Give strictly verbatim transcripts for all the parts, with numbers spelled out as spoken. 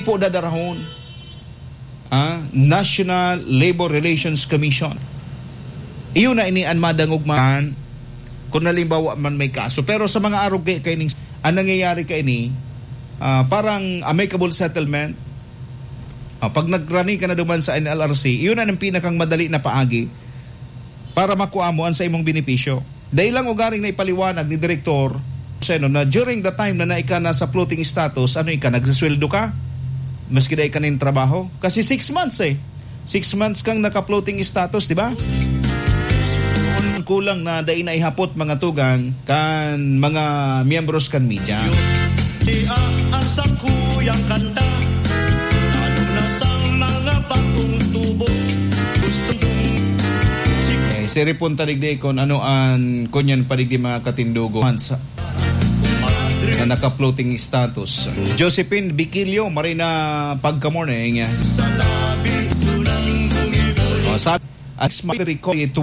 po dadarahon, ah, National Labor Relations Commission. Iyo na ini an madangog man kung halimbawa man may kaso. Pero sa mga arog kay kaining, ang nangyayari kaini, ah, parang amicable settlement. Ah, pag nagrani ka na duman sa N L R C, iyon na ang pinakang madali na paagi para makuha mo ang sa imong benepisyo. Dahil lang ugaring na ipaliwanag ni Direktor Seno na during the time na naika na sa floating status, ano ika, nagsasweldo ka? Maski dai ka nin trabaho? Kasi six months eh. Six months kang naka-floating status, di ba? Kulang na dai na ihapot mga tugang kan mga miyembros kan media. Dia ang sakuyang kanta, lalo na sa mga bagong tubo. Gusto kong Eh, siripon ta digdi kung ano an kunyan pa digdi mga katindogon sa, na naka-floating status. Josephine Bikilio, Marina, pagka-morning. Sa labi ko nang bumibuli. Oh, sa As my recall ito,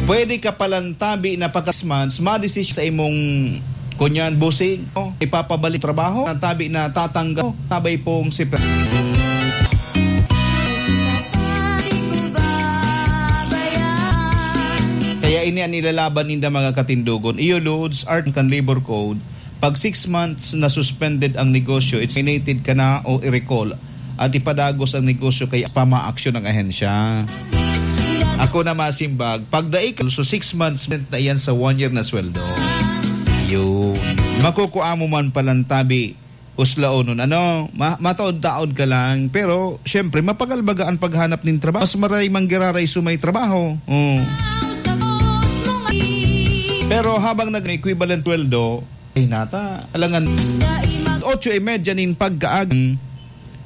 pwede ka palang tabi na pagkasmans, madesisyon sa imong kunyan, busing, no? Ipapabalik trabaho, ang tabi na tatanggal, sabay pong si Pe-, Kaya ini ang nilalaban ninda, mga katindogon. Iyo, Lods, art kan labor code, pag six months na suspended ang negosyo, it's terminated ka na o i-recall at ipadagos ang negosyo kay pamaaksyon ng ahensya. Ako na masimbag, pag daig, so six months na yan sa one year na sweldo. Yun. Makukuha mo man palang tabi, uslaonon. Ano, ma-, mataod-taod ka lang, pero syempre, mapagal baga ang paghanap ng trabaho. Mas maray manggiraray sumay trabaho. Oh. Pero habang nag-equivalent sweldo, ay nata, alangan otso y media nin pagkaagang.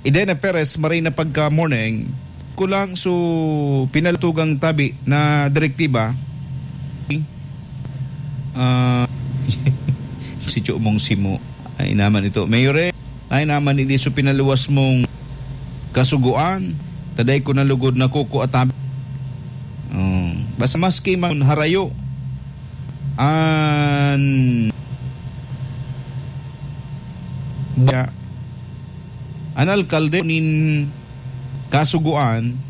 Idena Perez, Marina, pagka morning. Kulang su pinalatugang tabi na direktiba. Ah, si Cho mong simo. Ay naman ito. Mayor eh, ay naman hindi su pinaluwas mong kasugoan. Taday ko na lugod na kuko at tabi. Oh, basta maski man harayo. An Ba, an alkalde nin kasugoan,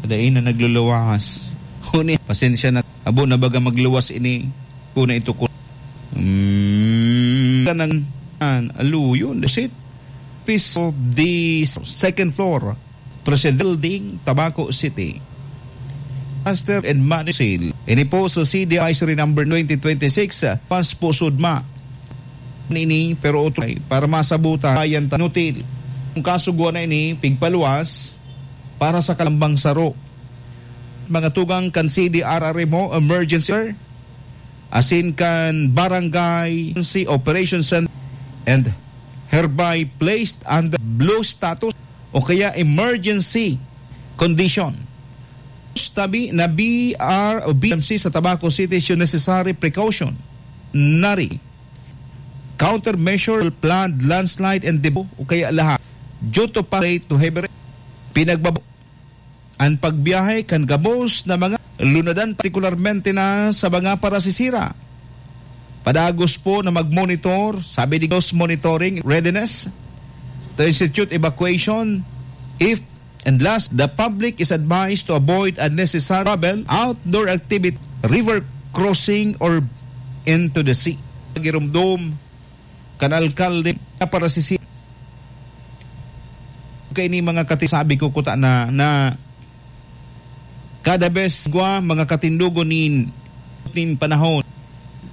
kadai na nagluluwas. Huni, pasensya na, abo na baga magluwas ini. Kuna ito ko. Mm, kanang, an, aluyon, that's it. Piece of the second floor. President Building, Tabaco City. Master and Money Sale. Ini po sa C D Advisory Number twenty twenty-six, ah, pas po sudma. Nini, pero utray, para masabutan, bayan tanutil. Ang kasuguan na ini, pigpaluwas para sa kalambang saro. Mga tugang kan C D R R M O, emergency, asin kan Barangay Emergency Operation Center and hereby placed under blue status o kaya emergency condition. Tabi na B R o B M C sa Tabaco City is yung necessary precaution. Nari, countermeasure, flood, landslide, and debris o kaya lahat. Due to pa to heavy rain, pinagbabo ang pagbiyahe kan gabos na mga lunadan, partikularmente na sa mga parasisira. Padagos po na mag-monitor, sabi ni Ghost Monitoring Readiness, to institute evacuation if, and last, the public is advised to avoid unnecessary travel, outdoor activity, river crossing, or into the sea. Girumdom kan alkalde na parasisi-, kay ni mga kati-, sabi ko kuta na, na kada bes gwa mga katindogon nin, nin panahon,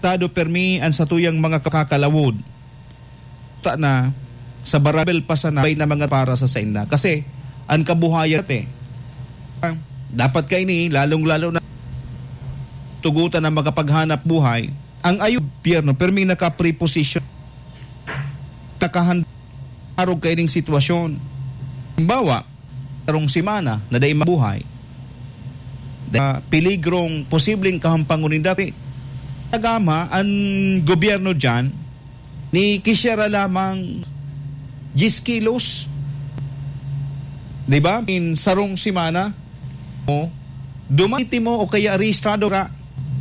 tado permi ang satuyang mga kakalawod. Ta na sa barabel pa sana bay na mga para sa sainda. Kasi ang kabuhayan te, ah, dapat kaini, lalong-lalo na tugutan na makapaghanap buhay, ang ayo gobyerno, permi naka-preposition, nakahanda arog kaining sitwasyon. Halimbawa, karong semana na dai mabuhay, da peligrong posibleng kahampangon ni dati. Nagama ang gobyerno diyan, ni kisiara lamang diyes kilos. Di ba? In sarong semana, o, dumati mo o kaya rehistrado ra,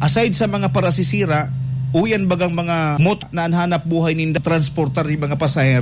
aside sa mga parasisira, o yan bagang mga mot na an hanap buhay ninda transportar nin mga pasahero.